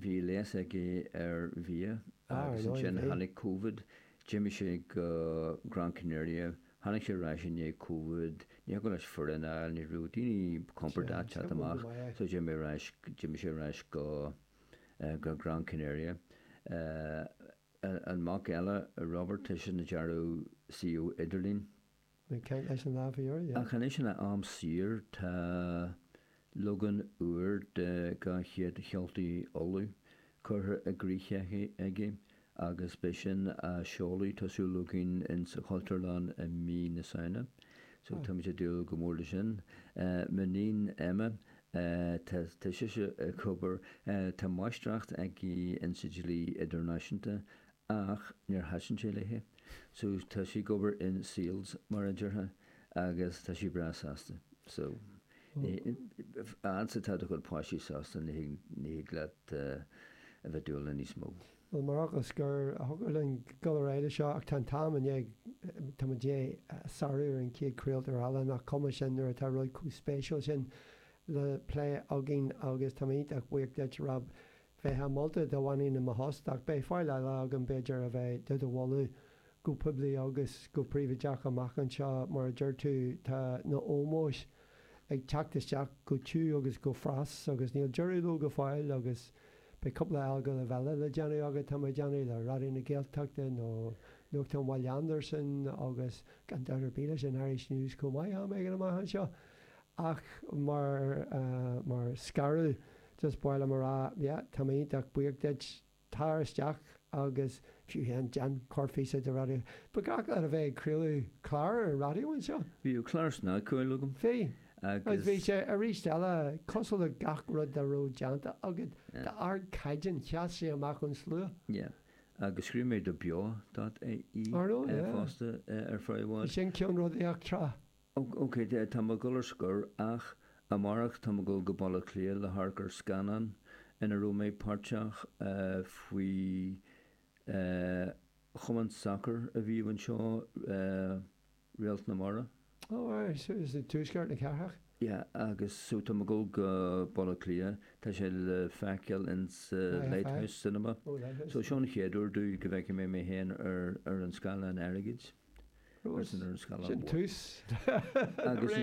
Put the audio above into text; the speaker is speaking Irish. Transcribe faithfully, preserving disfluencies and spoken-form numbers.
Bhí léas aige ar bhia Ah, agus ar ndóigh, ansin bhí. tháinig Covid, d'imigh sé go Gran Canaria, tháinig sé ar ais i ndiaidh Covid, ní thiocfadh leis foireann a fháil, ní raibh daoine compordach Sea, teacht go amach, maith é. so d'imigh ar ais, d'imigh sé ar ais go go Gran Canaria. An mac eile, Robert, tá sé ag dearadh suíomh idirlín. Bhí caint leis an lá faoi dheireadh, yeah. Ach anois ina am saor tá leagan úr de Dhá Chéad Cheoltaí Uladh curtha i gcrích aige agus beidh sin á seoladh, tá súil againn, in sa Chultúrlann i mí na Samhna. So táimid ag dúil go mór le sin. M'iníon Emma, tá tá sise ag obair, tá máistreacht aici in sa dlí idirnáisiúnta ach níor thaitin sé léi. So tá sí ag obair in sales, mar a déarfá, agus tá sí breá sásta. So fhad is atá do chuid páistí sásta ní thig ní thig leat a bheith dúil le níos mó. Bhuel, mar fhocal scoir, thiocfadh linn dul ar aghaidh leis seo ach tá an t-am i ndiaidh, tá muid i ndiaidh sárú ar an chéad chraoltóir eile, nach cuma sin nuair atá rud chomh spéisiúil sin le plé againn agus tá mé iontach buíoch duit, Rob. Bheifeá molta dá bhfanfainn i mo thost ach beidh fáil eile agam b'fhéidir a bheith do do mholadh go poiblí agus go príobháideach amach anseo. Mar a deir tú tá na ómóis ag teacht isteach go tiubh agus go fras agus níl deireadh leo go fóill agus beidh cúpla agallamh eile le déanamh agat, tá mé ag déanamh, le Raidió na Gaeltachta nó Nuachtán Bhaile Andarsan agus gan dabht ar bith leis an Irish News chomh maith am éigin amach anseo. Ach mar mar scaradh just ba mhaith liom a rá, yeah, tá mé iontach buíoch duit, tar isteach agus fiú féin déan corrphíosa de raidió. Ba ghnách leat a bheith ag craoladh clár ar an raidió anseo? Bhíodh clár snagcheoil agam. Bhí. Agus Agus. bhí sé arís eile cosúil le gach rud dá raibh déanta agat, Yeah. d'ardchaighdeán, sheas sé amach ón slua. Yeah. Agus scríobh mé do Beo dot ie Ar ndóigh, yeah. fosta ar feadh i Bhí bhfad. sin ceannródaíoch tráth. Ok, tá mé ag dul ar scor ach amárach tá mé ag dul go Baile Átha Cliath le hamharc ar scannán ina raibh mé páirteach faoi chumann sacair a bhíodh anseo, Réalt na Mara. Oh right, so is i dtuaisceart na cathrach? Yeah, agus so tá mé ag dul go Baile Átha Cliath, tá sé le feiceáil in sa Lighthouse Cinema. Oh, Lighthouse. So seo an chéad uair domh go bhfeicfidh mé mé féin ar ar an scáileán airgid. Sin tús. Agus